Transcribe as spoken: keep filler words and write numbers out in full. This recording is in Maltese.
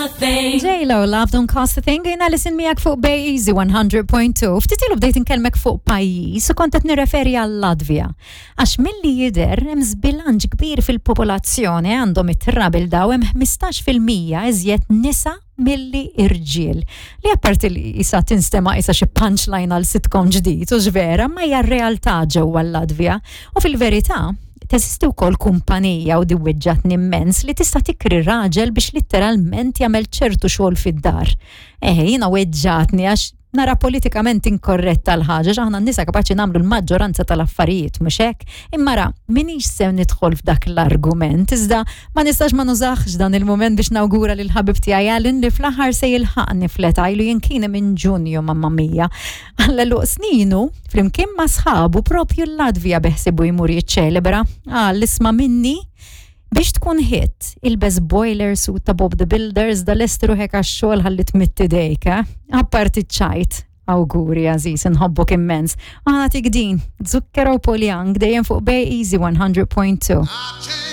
a thing. J-Lo, Love Don't Cost a Thing, jiena Alison miegħek fuq Bay Easy one hundred point two. Ftit ilu bdejt inkellmek fuq pajjiż u kont qed nirreferi għal Latvija. Għax milli jidher hemm żbilanċ kbir fil-popolazzjoni, għandhom it-trabil daw, hemm ħmistax fil-mija iżjed nisa milli irġiel. Li apparti li isa tinstema isa xi punchline għal sitcom ġdid u vera, ma hija r-realtà ġewwa l-Latvija. U fil-verità, teżisti wkoll kumpanija, u di weġġgħatni immens, li tista' tikri raġel biex litteralment jagħmel ċertu xogħol fid-dar. Eħe, jiena weġġgħatni għax nara politikament inkorretta l-ħaġa, aħna n-nisa kapaċi nagħmlu l-maġġoranza tal-affarijiet, mhux hekk? Imma ra, minix se nidħol f'dak l-argument, iżda ma nistax ma nużax dan il-moment biex nawgura lil ħabib tiegħi Alan li fl-aħħar se jilħaqni fl-età, ilu jinkini minn Ġunju, mamma mia. Għall-għeluq sninu, flimkien ma' sħabu propju l-Latvija beħsibu jmur jiċċelebra. Għal isma' minni, biex tkun hit, ilbes boiler suit ta' Bob the Builders, da lesti ruħek għax-xogħol ħalli tmidd idejk, eh? Apparti ċajt, awguri għażiż, nħobbok immens. Għana tik din, Zucchero, Paul Young, dejjem fuq Bay Easy one hundred point two.